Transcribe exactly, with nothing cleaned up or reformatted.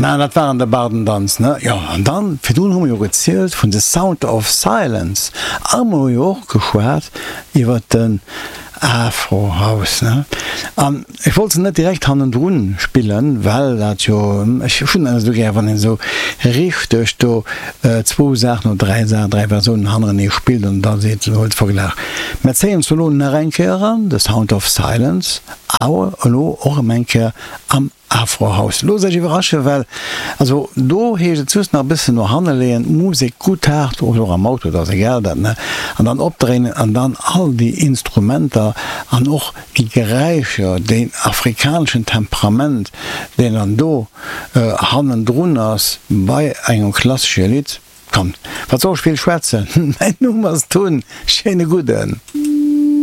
Mä dat war an der Bardendanz, ne? Jo, an dann, virdrun hu mer jo gezielt vun The Sound of Silence a mer hu jo och geschwat iwwer den Afro House, ne? An ech wollt se net direkt hannendrun spillen, well dat jo, ech hunn dat esou gär, wann een esou richteg do zwou Saachen oder dräi Saachen, dräi Versiounen hannerenee spillt an da seet, huet Verglach. Mä zéien se elo nach eng Kéier eran, The Sound of Silence, awer elo och erëm eng Kéier am Afrohouse. Loosst Iech iwwerraschen, well also do heescht et just nach e bëssen no hanne leeën, d'Musek gutt haart, oder och am Auto, dat ass egal dat, ne, an dann opdréinen an dann all déi Instrumenter an och déi Geräischer, deen afrikaneschen Temperament, deen dann do hannendrun ass bei engem klassesche Lidd. Kommt, wat soll ech vill schwätzen, mäin Numm ass Tun, schéine gudden.